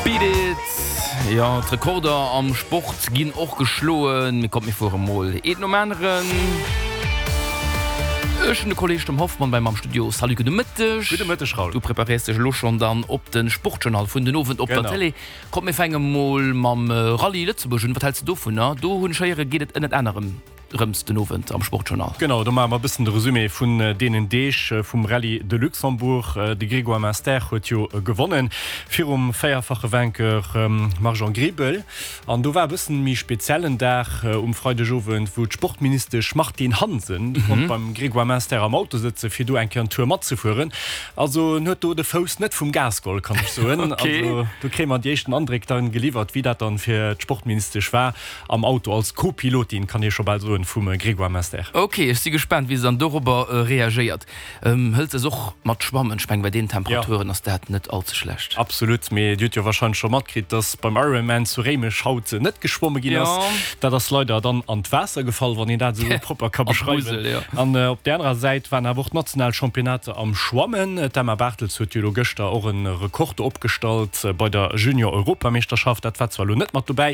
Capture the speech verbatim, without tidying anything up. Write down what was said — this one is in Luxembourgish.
Beat it! Jo, d'Rekorder am Sport ginn och geschloen. Mee kommt mir fuere mol een nom aneren. Ech hunn de Kolleg Tom Hoffmann bei mer am Studio. Salut, gudde Mëtteg. Gudde Mëtteg, Raoul. Du preparéiers dech elo schonn dann op de Sportjournal vun den Owend op der Genau. Télé. Kommt mir fänke mol mam Rallye Lëtzebuerg un. Wat häls de dovunner? Do hunn ech héieren, geet et ënnert anerem rëms den Owend am Sportjournal. Genau, do maache mer e bëssen de Resumé vun deenen Deeg vum Rallye de Luxembourg. De Grégoire Munster huet jo gewonnen virum véierfache Vainqueur Marjan Griebel. An do war e bëssen méi speziellen Dag um Freidegowend, wou d'Sportministesch Martine Hansen konnt beim Grégoire Munster am Auto sëtzen, fir do eng Kéier en Tour matzefueren. Also en huet do de Fouss net vum Gas geholl, kann ech soen. Also do kréie mer déi éischten Andréck dann geliwwert, wéi dat dann fir d'Sportministesch war am Auto als Co-Pilotin, kann ee scho bal soen, vum Grégoire Munster. Ok, ech si gespaant, wéi se dann dorobber reagéiert. Hëlt se es och mat Schwammen? Ech mengen, bei deenen Temperaturen ass dat net all ze schlecht. Absolut, mee Dir hutt jo warscheinlech scho matkritt, dass beim Ironman zu Réimech haut net geschwomme ginn ass. Dat ass leider dann an d'Waasser gefall, wann een dat esou propper ka beschreiwen. An op där anerer Säit waren awer och d'national Championnater am Schwammen. D'Emma Bartels huet jo elo gëschter och e Rekord opgestallt bei der Junior-Europameeschterschaft. Dat war zwar elo net mat dobäi,